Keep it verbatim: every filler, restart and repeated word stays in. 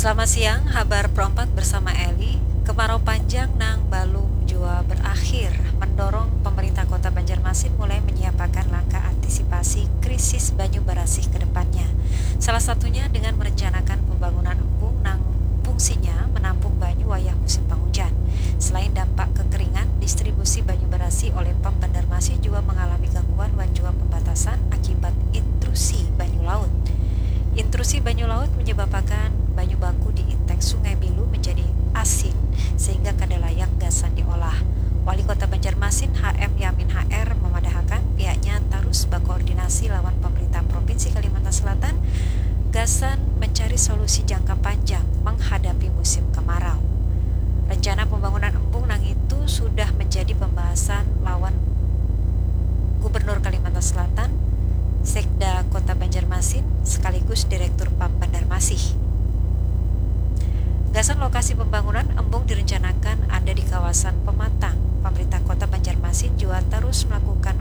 Selamat siang, habar Pro empat bersama Eli. Kemarau panjang nang balum jua berakhir mendorong pemerintah Kota Banjarmasin mulai menyiapakan langkah antisipasi krisis banyu barasih ke depannya. Salah satunya dengan merencanakan pembangunan embung nang fungsinya menampung banyu wayah musim panghujan. Selain dampak kekeringan, distribusi banyu barasih oleh Pam Banjarmasin jua mengalami gangguan wan jua pembatasan akibat intrusi banyu laut. Intrusi banyu laut menyebabkan banyu baku di intek Sungai Bilu menjadi asin sehingga kada layak gasan diolah. Wali Kota Banjarmasin H M Yamin H R memadahakan pihaknya tarus bakoordinasi lawan pemerintah Provinsi Kalimantan Selatan gasan mencari solusi jangka panjang menghadapi musim kemarau. Rencana pembangunan embung nang itu sudah menjadi pembahasan lawan Gubernur Kalimantan Selatan, Sekda Kota Banjarmasin, sekaligus Direktur Pam Banjarmasin. Gasan lokasi pembangunan, embung direncanakan ada di kawasan Pematang. Pemerintah Kota Banjarmasin jua terus melakukan